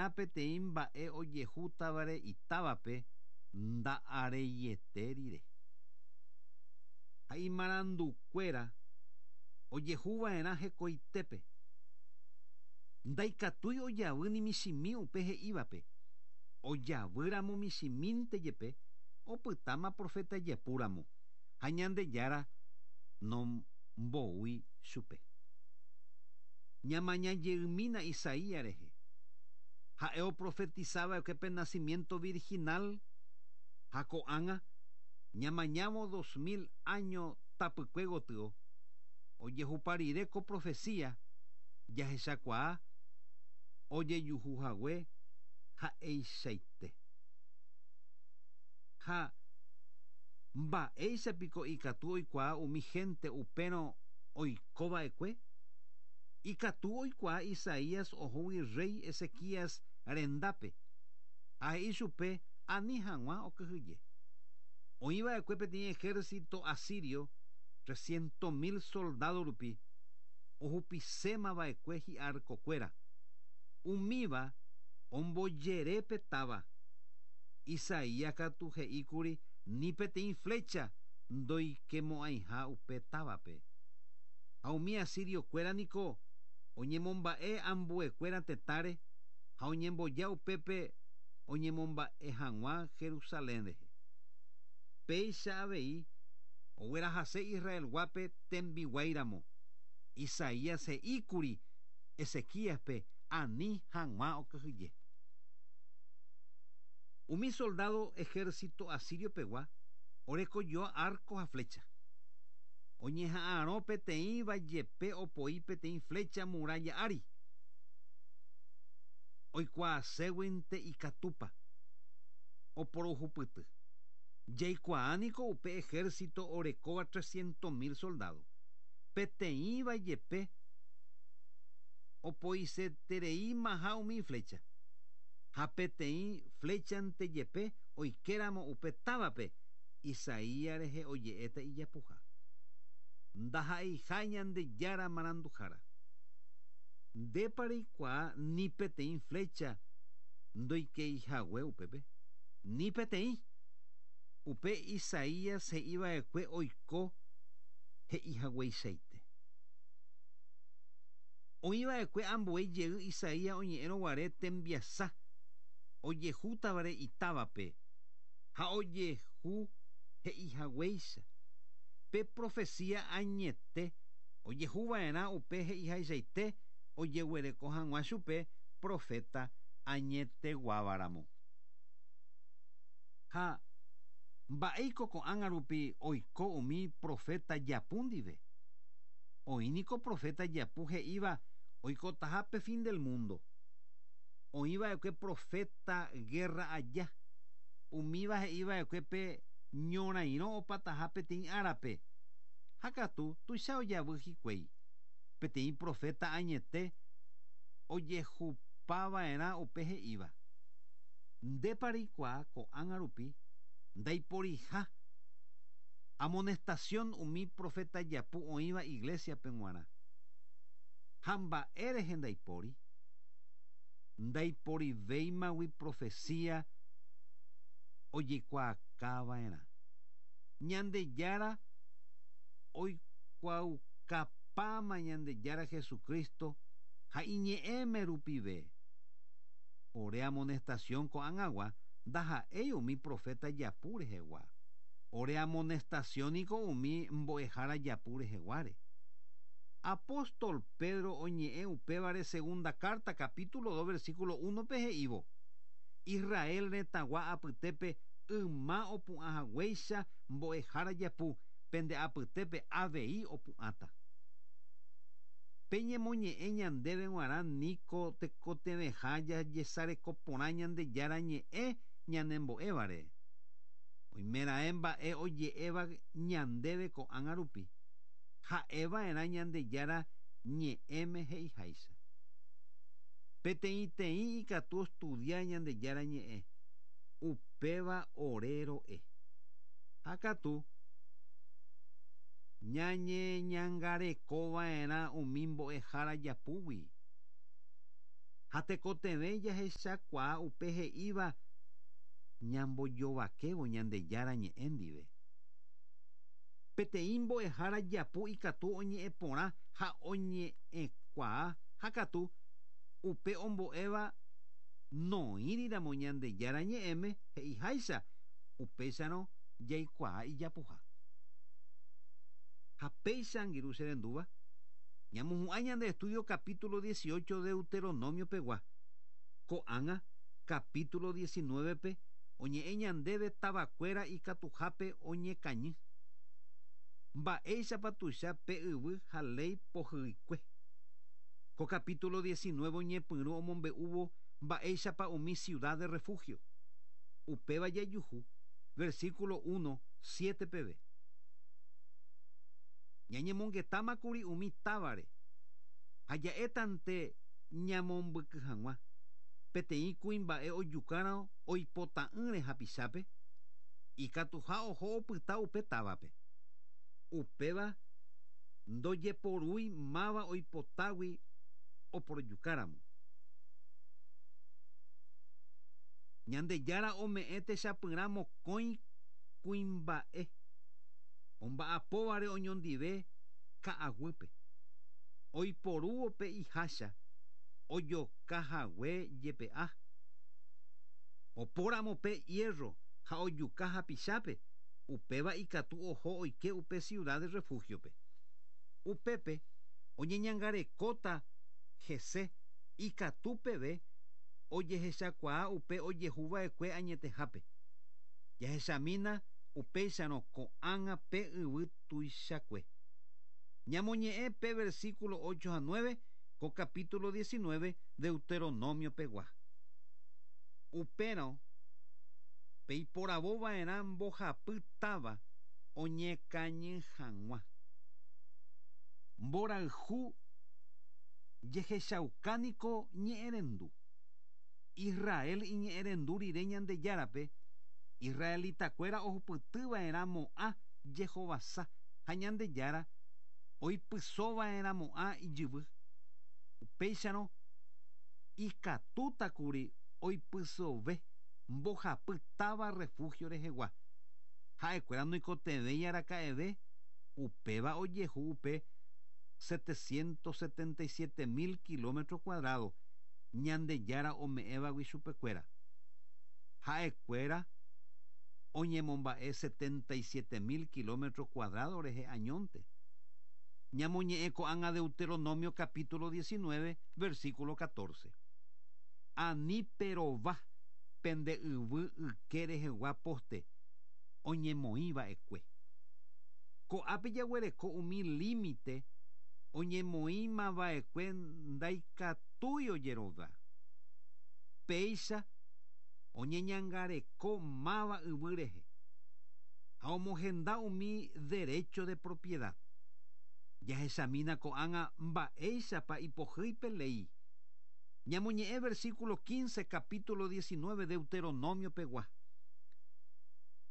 peteĩ mba'e ojehútavare itávape nda'areiete rire. Ha imarandukuéra ojehuva'erã hekoitépe. Ndaikatúi ojavy ni michĩmi upe he'ívape. Ojavýramo michĩmínte jepe, opytáma proféta japúramo, ha Ñandejára nomboúi chupe. Ñamaña jeymína Isaías rehe. Ha'e oprofetisava'ekue pe nacimiento virginal ha ko'ág̃a ñamañávo 2000 áño tapykue gotyo, ojehupa rire ko profecía jahechakuaa ojejuhuhague ha'eichaite. Ha mba'éichapiko ikatu oikuaa umi hénte upérõ oikova'ekue? Ikatu oikuaa Isaías ohógui rréi Ezequías rendápe ha he'i chupe ani hag̃ua okyhyje. Oĩva'ekue peteĩ ejército asirio 300 000 soldádo rupi ohupisémava'ekue hi'arkokuéra. Umíva ombojere pe táva. Isaías katu he'íkuri ni peteĩ flecha ndoikemo'ãiha upe távape. Ha umi asiriokuéra niko oñemomba'e ambuekuéra tetãre ha oñemboja upépe oñemomba'e hag̃ua Jerusalén rehe. Péicha avei oguerahase Israelguápe tembiguáiramo. Isaías he'íkuri Ezequíaspe ani hag̃ua okyhyje. Umi soldado ejército asirio pegua orekojoa arco ha flecha. Oñeha'arõ peteĩva jepe opoi peteĩ flecha muralla ári. Oikuaaséguinte ikatúpa oporohupyty. Jaikuaániko upe ejército orekóva 300 000 soldado. Peteĩva jepe opoisetereímaha umi flecha. Ha peteĩ flechante jepe oikéramo upe távape Isaías rehe oje'éta ijapuha. Ndaha'eiha Ñandejára maranduhára. Ndépa reikuaa ni peteĩ flecha ndoikeihague upépe? Ni peteĩ. Upe Isaías he'iva'ekue oiko he'ihagueichaite. Oĩva'ekue ambue jey Isaías oñe'ẽrõguare tembiasa ojehútavare itávape ha ojehu he'ihaguéicha. Pe profecía añete ojehuva'erã upe he'ihaichaite ojeguereko hag̃ua chupe profeta añeteguávaramo. Ha mba'éiko ko'ág̃a rupi oiko umi profeta japu ndive? Oĩniko profeta japu he'íva oikotaha pe fin del mundo. Oĩva'ekue profeta guerra aja. Umíva he'iva'ekue pe ñorairõ opataha peteĩ árape. Ha katu tuicha ojavy hikuái. Peteĩ profeta añete ojehupava'erã upe he'íva. Ndépa reikuaa ko'ág̃a rupi ndaiporiha amonestación umi profeta japu oĩva iglesiape g̃uarã. Ha mba'e rehe ndaipóri? Ndaiporivéimagui profecía ojekuaakava'erã. Ñandejára oikuaukapáma Ñandejára Jesucristo ha iñe'ẽme rupive. Ore amonestación ko'ág̃agua ndaha'éi umi profeta japu rehegua. Ore amonestacióniko umi mbo'ehára japu reheguáre. Apóstol Pedro oñe'ẽ upévare segunda carta capítulo 2 versículo 1 pe he'ívo. Israel retãgua apytépe yma opu'ãhaguéicha mbo'ehára japu pende apytépe avei opu'ãta. Peñemoñe'ẽ ñandéve g̃uarã niko tekotevẽha jajesareko porã Ñandejára ñe'ẽ ñanembo'évare. Oimeraẽ mba'e oje'éva ñandéve ko'ág̃a rupi. Ha'eva'erã Ñandejára ñe'ẽme he'iháicha. Peteĩteĩ ikatu ostudia Ñandejára ñe'ẽ. Upéva ore ro'e. Ha katu ñañeñangarekova'erã umi mbo'ehára japúgui. Ha Ha tekotevẽ jahechakuaa upe he'íva ñambojovakévo Ñandejára ñe'ẽ ndive. Peteĩ mbo'ehára japu ikatu oñe'ẽ porã ha oñe'ẽkuaa ha katu upe ombo'éva noĩriramo Ñandejára ñe'ẽme he'iháicha upéicharõ jaikuaa ijapuha. Ha péicha angirũ che rendúva, ñamohu'ã ñande estudio capítulo 18 Deuteronomio pegua. Ko'ág̃a capítulo 19-pe oñe'ẽ ñandéve tavakuéra ikatuhápe oñekañy. Mba'éichapa tuicha pe yvy ha léi pohyikue. Ko capítulo 19 oñepyrũ omombe'úvo mba'éichapa umi ciudad de refugio. Upéva jajuhu, versículo 1, 7 peve. Ñañemongetámakuri umi távare ha ja'étante ñamombyky hag̃ua. Peteĩ kuimba'e ojukárõ oipota'ỹre hapichápe, ikatuha oho opyta upe távape. Upéva ndojeporúi máva oipotágui oporojukáramo. Ñandejára ome'ẽ techapyrã mokõi kuimba'e omba'apóvare oñondive ka'aguýpe. Oiporúvo pe ihácha ojokahague jepe'a. Opóramo pe hierro ha ojuka hapichápe, upéva ikatu oho oike upe ciudad de refugio-pe. Upépe oñeñangarekóta hese ikatu peve ojehechakuaa upe ojehuva'ekue añetehápe. Jahechamína upéicharõ ko'ág̃a pe yvy tuichakue. Ñamoñe'ẽ pe versículo 8 ha 9 ko capítulo 19 Deuteronomio pegua. Upérõ peiporavova'erã mbohapy táva oñekañy hag̃ua. Mborayhu jehechauka niko ñe'ẽrendu. Israel iñe'ẽrendu rire Ñandejárape, israelitakuéra ohupytyva'erãmo'ã Jehovasa ha Ñandejára oipysova'erãmo'ã ijyvy. Upéicharõ ikatútakuri oipysove mbohapy táva refugio rehegua. Ha'ekuéra noikotevẽi araka'eve upéva ojehu upe 777.000 kilómetro cuadrado Ñandejára ome'ẽvagui chupekuéra. Ha'ekuéra oñemomba'e 77.000 kilómetro cuadrado rehe añónte. Ñamoñe'ẽ ko'ág̃a Deuteronomio capítulo 19, versículo 14. Ani perova pende yvy yke rehegua poste oñemoĩva'ekue. Ko'ápe jaguereko umi límite oñemoĩmava'ekue ndaikatúi ojerova. Péicha oñeñangareko máva yvy rehe ha omohenda umi derecho de propiedad. Jahechamína ko'ág̃a mba'éichapa ipohýi pe léi. Ñamoñe'ẽ versículo 15 capítulo 19 Deuteronomio pegua.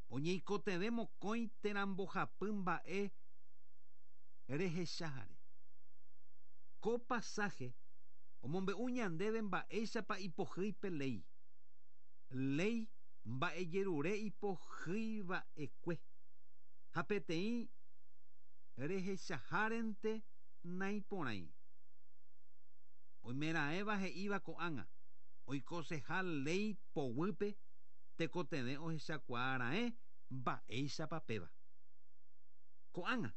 Oñeikotevẽ mokõi térã mbohapy mba'e rehechahare. Ko pasaje omombe'u ñandéve mba'éichapa ipohýi pe léi. Léi mba'ejerure ipohýiva'ekue ha peteĩ rehechahárente naiporãi. Oimeraẽva he'íva ko'ág̃a oikoseha léi poguýpe tekotevẽ ohechakuaaraẽ mba'éichapa péva. Ko'ág̃a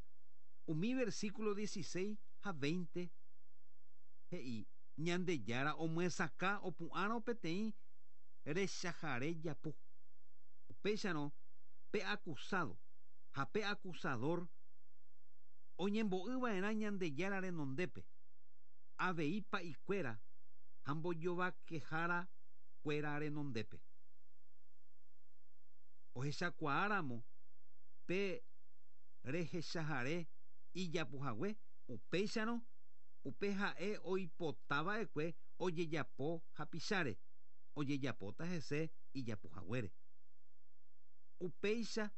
umi versículo 16 ha 20 he'i Ñandejára omyesakã opu'ãrõ peteĩ rechahare japu. Upéicharõ pe acusado ha pe acusador oñembo'yva'erã Ñandejára renondépe, avei pa'ikuéra ha mbojovakehára kuéra renondépe. Ohechakuaáramo pe rehechahare ijapuhague upéicharõ upe ha'e oipotava'ekue ojejapo hapicháre, ojejapóta hese ijapuhaguére. Upéicha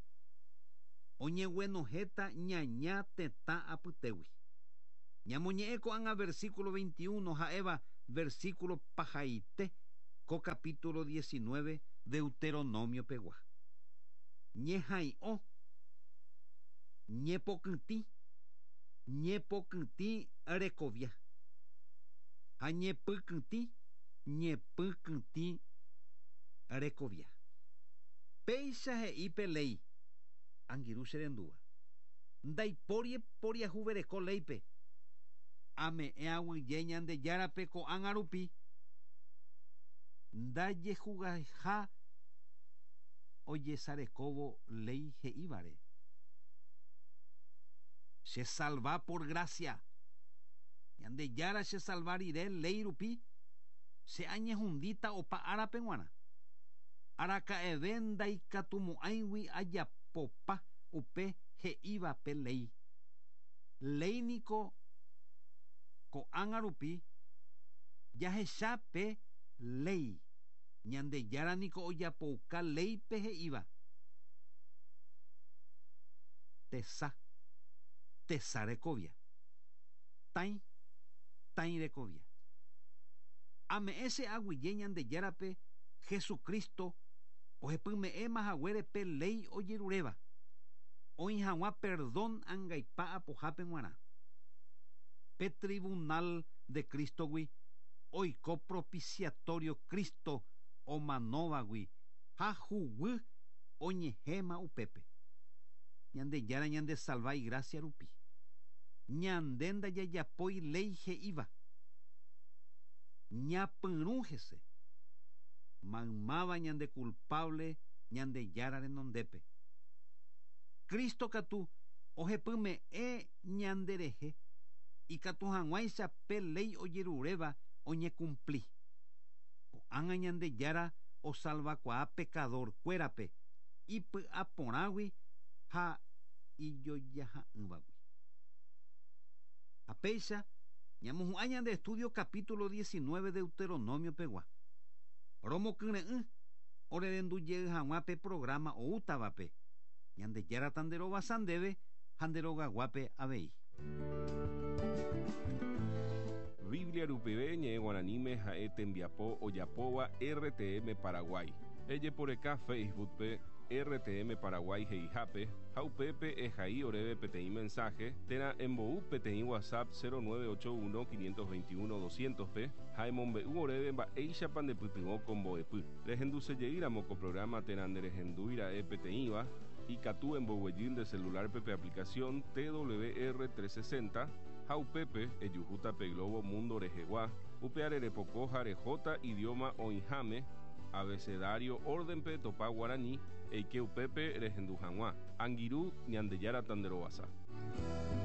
oñeguenohẽta ñaña tetã apytégui. Ñamoñe'ẽ ko'ág̃a versículo 21 ha'éva versículo pahaite ko capítulo 19 Deuteronomio pegua. Ñeha'ỹi'o, ñepokytĩ, ñepokytĩ rekovia ha ñepykytĩ, ñepykytĩ rekovia. Péicha he'i pe léi, angirũ che rendúva. Ndaipóri poriahuvereko léipe. Ame'ẽ aguyje Ñandejárape ko'ág̃a rupi ndajehugaiha ojesarekóvo léi he'ívare. Che salva por gracia. Ñandejára che salva rire léi rupi, che añehundíta opa árape g̃uarã. Araka'eve ndaikatumo'ãigui ajapopa upe he'íva pe léi. Léi niko ko'ág̃a rupi jahecha pe léi. Ñandejára niko ojapouka léipe he'íva. Tesa, tesa rekovia. Tãi, tãi rekovia. Ame'ẽ che aguyje Ñandejárape Jesucristo ohepyme'ẽma haguére pe léi ojeruréva, oĩ hag̃ua perdón angaipa apohápe g̃uarã. Pe tribunal de Cristo-gui oiko propiciatorio Cristo omanóvagui ha huguy oñehẽma upépe. Ñandejára ñandesalva igrásia rupi. Ñande ndajajapói léi he'íva. Ñapyrũ hese. Maymáva ñande kulpáble Ñandejára renondépe. Cristo katu ohepyme'ẽ ñanderehe ikatu hag̃uáicha pe léi ojeruréva oñekumpli. Ko'ág̃a Ñandejára osalvakuaa pekadorkuérape ipy'aporãgui ha ijojaha'ỹvagui. Ha péicha ñamohu'ã ñande estudio capítulo 19 Deuteronomio pegua. Romokyre'ỹ orerendu jey hag̃ua pe programa oútavape. Ñandejára tanderovasa ndéve ha nde rogaguápe avei. Biblia rupive ñe'ẽ guaraníme ha'e tembiapo ojapóva RTM Paraguay. Ejeporeka Facebook-pe RTM Paraguay he'ihápe ha upépe ehai oréve peteĩ mensaje térã embou peteĩ WhatsApp 0981 521 200-pe ha emombe'u oréve mba'éichapa ndepytyvõ ko mbo'epy. Rehendusejeýramo ko programa térã nderehendúira'e peteĩva, ikatu emboguejy nde celular-pe pe aplicación TWR 360 ha upépe ejuhúta pe globo mundo rehegua, upeare repoko ha rehóta idioma oĩháme, abecedario orden-pe etopa guarani, eike upépe rehendu hag̃ua. Angirũ, Ñandejára tanderovasa.